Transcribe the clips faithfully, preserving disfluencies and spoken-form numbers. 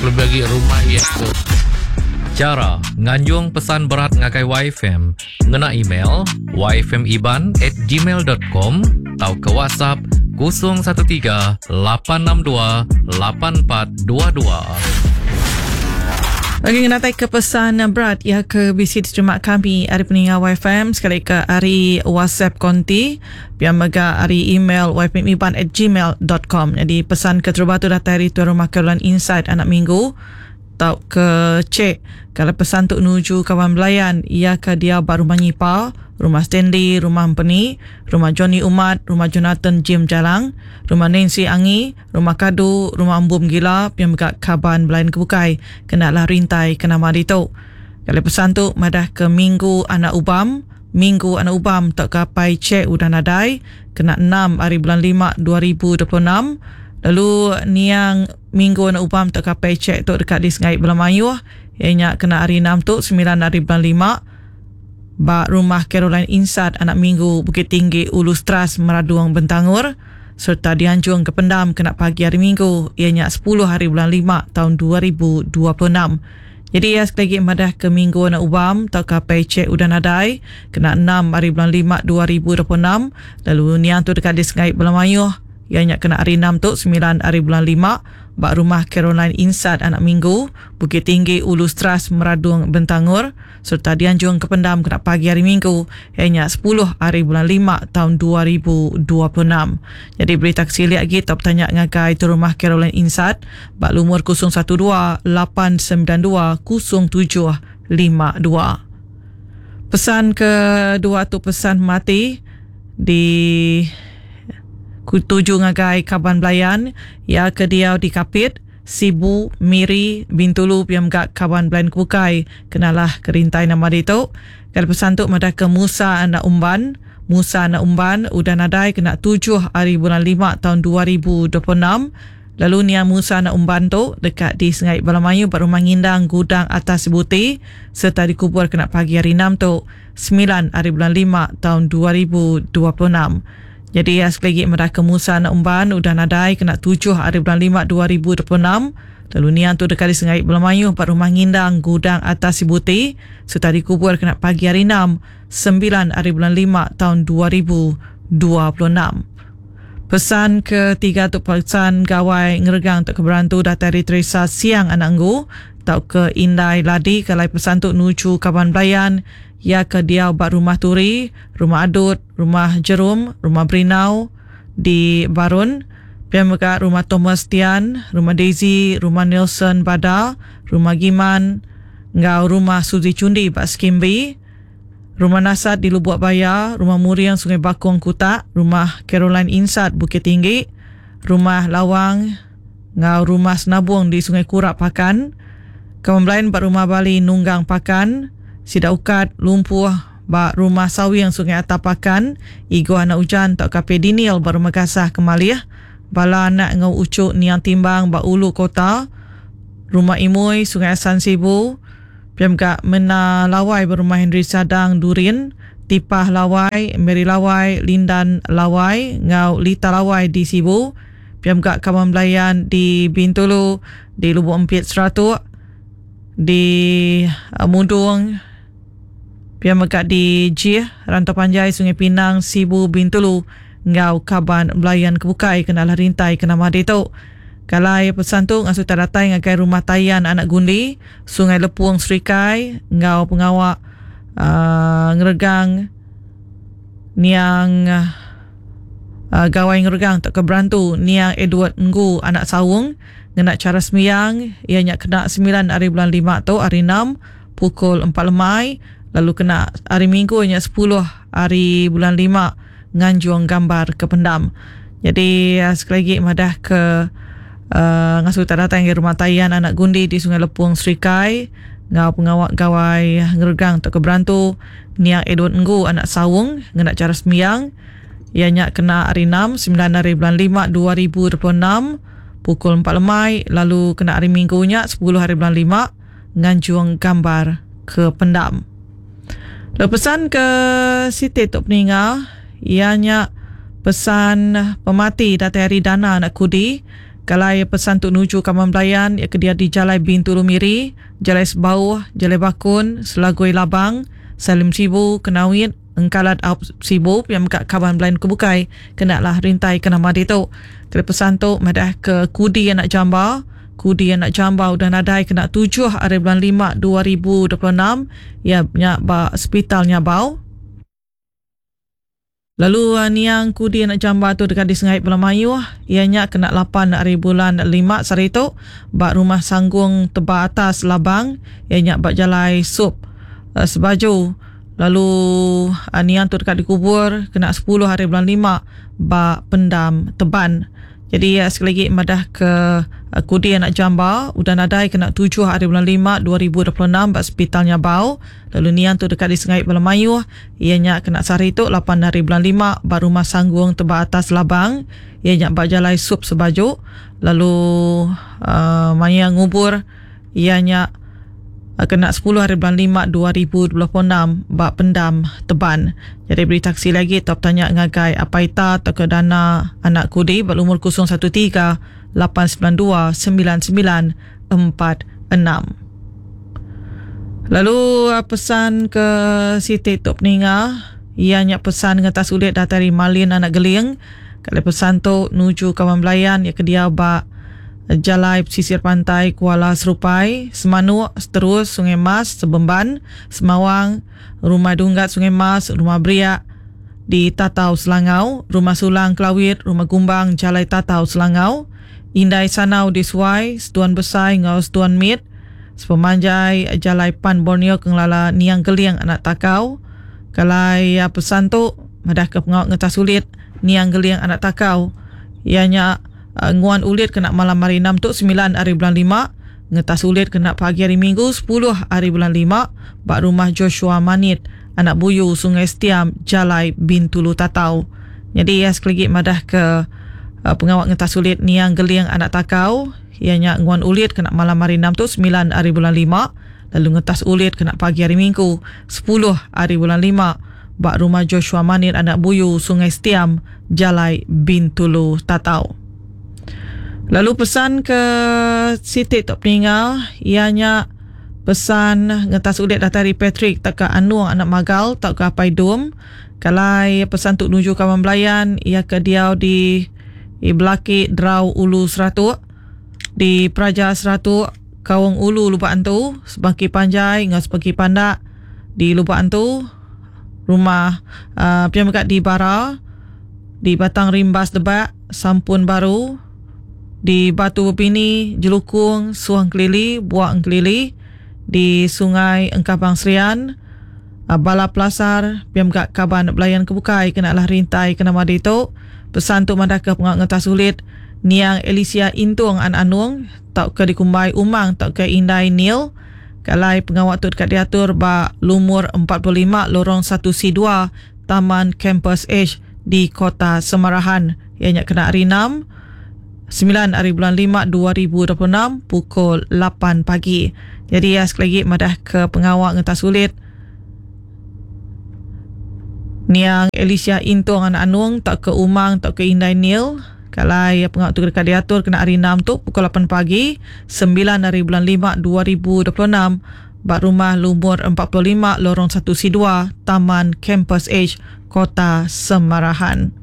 Lebih agi rumah iya tu. Chara nganjung pesan berat ngagai Y F M ngena email y f m iban at gmail dot com atau ke WhatsApp kosong satu tiga, lapan enam dua, lapan empat dua dua. Bagi ngenatai ke pesan berat ya ke bisi diterima kami ari peninga Y F M sekali ke ari WhatsApp konti pia mega ari email y f m iban at gmail dot com. Jadi pesan ke terubah tu datai ari tuan rumah Caroline Insight anak minggu tau ke cek kalau pesan tu nuju kawan belayan ia ke dia ba rumah Nyipa, rumah Stanley, rumah Empeni, rumah Johnny Umat, rumah Jonathan Jim Jalang, rumah Nancy Angi, rumah Kadu, rumah Embum Gila, pia mega kaban belayan kebukai kena lah rintai ke nama ditu. Kalau pesan tu madah ke Minggu Anak Ubam, Minggu Anak Ubam tak kapai cek udah nadai kena enam hari bulan lima dua ribu dua puluh enam. Lalu niang Minggu Anak Ubam tak kapai cek tu dekat di Sengai Belamayuh ianya kena hari enam tu sembilan hari bulan lima ba rumah Caroline Insat Anak Minggu, Bukit Tinggi, Ulu Stras, Meraduang, Bentangor serta dianjung ke pendam kena pagi hari Minggu ianya sepuluh hari bulan lima tahun dua ribu dua puluh enam. Jadi ya, sekali lagi madah ke Minggu Anak Ubam atau kapai cek udah nadai kena enam hari bulan lima dua ribu dua puluh enam. Lalu niang tu dekat di Sengai Belamayuh ianya kena hari enam tu sembilan hari bulan lima ba rumah Caroline Insat Anak Minggu, Bukit Tinggi, Ulu Stras, Meradung, Bentangor serta dianjung ke pendam kena pagi hari Minggu ianya sepuluh hari bulan lima tahun dua ribu dua puluh enam. Jadi berita kesilik lagi atau bertanya ngagai tu rumah Caroline Insat ba lumur kosong satu dua lapan sembilan dua kosong tujuh lima dua. Pesan kedua tu pesan mati di tuju ngagai kaban belayan ya ke dia di Kapit, Sibu, Miri, Bintulu piam gak kaban belayan kukai kenalah kerintai nama ditu. Kalau pesan tu madah ke Musa Anak Umban, Musa Anak Umban udah nadai kena tujuh hari bulan lima tahun dua ribu dua puluh enam. Lalu Nia Musa Anak Umban tu dekat di Sengai Balamayu rumah Ngindang Gudang Atas Buti serta dikubur kena pagi hari enam tu sembilan hari bulan lima tahun dua ribu dua puluh enam. Jadi ya, sekali lagi mereka ke Musa Anak Umban udah nadai kena tujuh hari bulan lima dua ribu dua puluh enam. Lalu niang tu dekat di Sengai Belamayu empat rumah Ngindang Gudang Atas Sibuti serta dikubur kena pagi hari enam sembilan hari bulan lima tahun dua ribu dua puluh enam. Pesan ketiga tu pesan gawai ngeregang untuk keberantu datai dari Teresa Siang Anak Enggu tau ke Indai Ladi. Kalau pesan tu nuju kaban belayan ya ke dia ba rumah Turi, rumah Adut, rumah Jerum, rumah Berinau di Barun, pihak mega rumah Thomas Tian, rumah Daisy, rumah Nelson Bada, rumah Giman, ngau rumah Suzy Cundi ba Skimbi, rumah Nasat di Lubuk Baya, rumah Muriang Sungai Bakong Kutak, rumah Caroline Insat Bukit Tinggi, rumah Lawang ngau rumah Senabung di Sungai Kurak Pakan, Kawan ba rumah Bali Nunggang Pakan, Sida Ukat Lumpuh ba rumah Sawing Sungai Atap Pakan, Igo Anak Ujan tak kape Diniel ba rumah Gasah Kemalih, bala anak ngau ucuk Niang Timbang ba Ulu Kota, rumah Imui Sungai Asan Sibu, Piam gak mena Lawai ba rumah Henry Sadang Durin, Tipah Lawai, Mary Lawai, Lindan Lawai, ngau Lita Lawai di Sibu, Piam gak kawan belayan di Bintulu, di Lubuk Empit Seratuk, di uh, Mundung, Piam mega di Jih, Rantau Panjai, Sungai Pinang, Sibu, Bintulu, ngau kaban belayan kebukai kena lah rintai kena madi tu. Kalau pesan tu ngasuh tak datang ngagai rumah Tayan Anak Gundi, Sungai Lepung Serikai, ngau pengawak uh, ngeregang niang uh, gawai ngeregang tak keberantu niang Edward Nggu Anak Sawung ngena cara sembiang ianya kena sembilan hari bulan lima tu hari enam pukul empat lemai, lalu kena hari Minggu nya sepuluh hari bulan lima nganjung gambar ke pendam. Jadi uh, sekali lagi madah ke uh, ngasuh tak datang ke rumah Tayan Anak Gundi di Sungai Lepung Serikai ngau pengawak gawai ngeregang tak keberantu niang Edward Nggu Anak Sawung ngena cara sembiang ianya kena hari enam sembilan hari bulan lima dua ribu dua puluh enam pukul empat lemai, lalu kena hari Minggunya sepuluh hari bulan lima nganjung gambar ke pendam. Lalu pesan ke Siti Tok Peninga ianya pesan pemati datai hari Dana Anak Kudi Kalai pesan tu nuju kaman belayan ya ke dia di Jalai Bintulu Miri, Jalai Sebauh, Jalai Bakun, Selagui Labang, Salim Sibu, Kenawit, Engkalat Aup Sibu yang buka kawan belayan kebukai kena lah rintai ke nama ditu. Kena pesan tu madah ke Kudi anak Jamba, Kudi anak Jamba udah nadai kena tujuh hari bulan lima dua ribu dua puluh enam ya nya ba hospital Nyabau. Lalu niang Kudi anak Jamba tu dekat di Sengai Pulau Mayuh, ianya kena lapan hari bulan lima sehari tu ba rumah Sanggung Teba Atas Labang, ianya ba Jalai Sup uh, Sebaju. Lalu uh, niang tu dekat dikubur kena sepuluh hari bulan lima ba Pendam Teban. Jadi uh, sekali lagi madah ke uh, Kudi anak Jamba udah nadai kena tujuh hari bulan lima dua ribu dua puluh enam ba hospital Nyabau. Lalu niang tu dekat di Sengai Pulau Mayuh, ianya kena sehari tu lapan hari bulan lima ba rumah Sanggung Teba Atas Labang, ianya ba Jalai Sup Sebaju. Lalu uh, maya ngubur ianya kena sepuluh hari bulan lima dua ribu dua puluh enam ba Pendam Teban. Jadi beri taksi lagi top tanya ngagai Apaita atau ke dana anak Kudi berumur kosong satu tiga lapan sembilan dua sembilan sembilan empat enam. Lalu pesan ke Siti Tok Peninga, ianya pesan ngetas ulit dari Malin anak Geling. Kalau pesan tu nuju kawan belayan ya ke dia ba Jalai Pesisir Pantai Kuala Serupai, Semanuk, Seterus, Sungai Mas, Sebemban, Semawang, Rumah Dunggat Sungai Mas, Rumah Beriak di Tatau Selangau, Rumah Sulang Kelawit, Rumah Gumbang Jalai Tatau Selangau, Indai Sanau di Suai, Setuan Besai ngau Setuan Mit, Sepemanjai Jalai Pan Borneo Kengelala Niang Geliang Anak Takau. Kalai pesan tu madah ke pengawak ngetah sulit Niang Geliang Anak Takau, ianya Uh, nguan ulit kena malam hari enam tu sembilan hari bulan lima, ngetas ulit kena pagi hari Minggu sepuluh hari bulan lima bak rumah Joshua Manit anak Buyu Sungai Setiam Jalai Bintulu Tatau. Jadi ya sekali lagi madah ke uh, pengawak ngetas ulit Niang Geliang Anak Takau, ianya nguan ulit kena malam hari enam tu sembilan hari bulan lima, lalu ngetas ulit kena pagi hari Minggu sepuluh hari bulan lima bak rumah Joshua Manit anak Buyu Sungai Setiam Jalai Bintulu Tatau. Lalu pesan ke Siti Tok Peninga, ianya pesan ngetas ulit datari Patrick tak ke Anuang anak Magal tak ke Apai Dum. Kalai pesan tu nuju kawan belayan ia ke diau di di Belaki Drau Ulu Seratuk, di Praja Seratuk, Kawang Ulu Lubak Antu, Sebangki Panjai ngau Sebangki Pandak di Lubak Antu, rumah uh, pian megat di Bara, di Batang Rimbas Debak, Sampun Baru, di Batu Bepini, Jelukung, Suang Kelili, Buak Engkelili, di Sungai Engkabang Serian, Bala Pelasar, pian megat kaban belayan kebukai kena lah rintai kena madi tu. Pesan tu madah ke pengak ngetas sulit Niang Alicia Intung An Anung tak ke dikumbai Umang tak ke Indai Nil. Kalai pengawak tu dekat diatur ba lumur empat puluh lima lorong satu C dua Taman Campus H di Kota Semarahan. Ianya kena hari enam sembilan hari bulan lima dua ribu dua puluh enam pukul lapan pagi. Jadi ya sekali lagi madah ke pengawak ngetas sulit Niang Alicia Intung Anak Anung tak ke Umang tak ke Indai Nil. Kalai pengawak tu dekat diatur kena hari enam tu pukul lapan pagi sembilan hari bulan lima dua ribu dua puluh enam bak rumah lumur empat puluh lima lorong satu C dua Taman Campus H Kota Semarahan.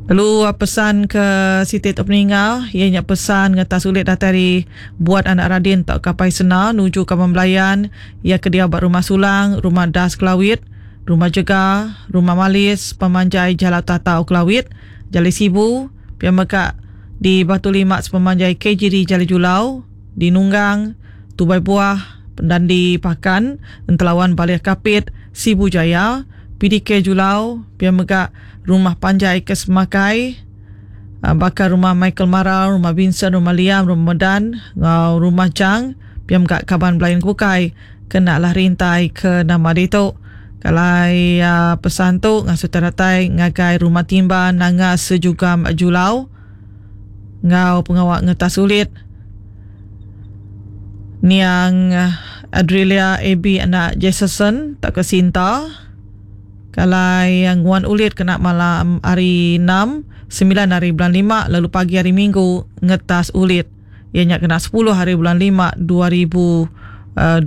Lalu pesan ke Siti Tok Peninga, ianya pesan ngetas sulit datari buat anak Radin tak kapai sena nuju kawan belayan ia ke dia bak rumah Sulang, rumah Das Kelawit, rumah Jega, rumah Malis, Pemanjai Jalan Tatau Kelawit, Jalai Sibu, pian mekak di Batu Lima Sepemanjai K G D Jalai Julau, di Nunggang, Tubai Buah, Pendandi Pakan, Entelawan Baliah Kapit, Sibu Jaya, P D K Julau, pian mekak Rumah Panjai Kesemakai, bakar rumah Michael Marau, rumah Vincent, rumah Liam, rumah Medan, ngau rumah Chang, pian mekak kaban belayan kukai, kena lah rintai ke nama ditu. Kalai uh, pesan tu ngasuh teratai ngagai rumah timba nanga sejugam Julau, ngau pengawak ngetas sulit Niang Adrilia A B anak Jason tak ke Sinta. Kalai nguan ulit kena malam hari enam, sembilan hari bulan lima, lalu pagi hari Minggu ngetas ulit. Ianya kena sepuluh hari bulan lima dua ribu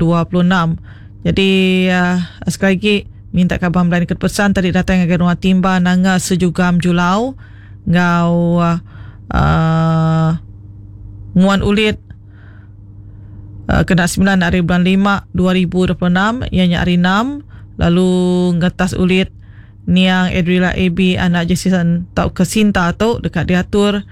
dua puluh enam. Jadi uh, sekali lagi minta kaban belayan ke pesan tadi datang ngagai rumah Timba Nanga Sejugam Julau ngau uh, uh, nguan ulit uh, kena sembilan hari bulan lima dua ribu dua puluh enam, ianya hari enam, lalu ngetas ulit niang Adrila A B anak Jason tau ke Sinta tu dekat diatur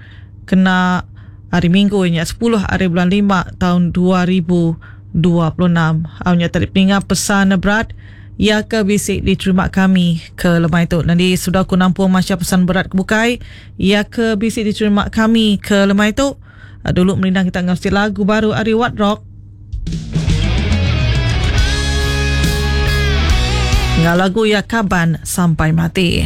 kena hari Minggu ianya sepuluh hari bulan lima tahun dua ribu dua puluh enam. Awnya tadi peningat pesan berat ia ke bisik diterima kami ke lemai tu. Nanti sudah aku nampung macam pesan berat ke bukai ia ke bisik diterima kami ke lemai tu. Dulu melindang kita ngasi lagu baru ari What Rock. Ngah lagu ya Kaban Sampai Mati.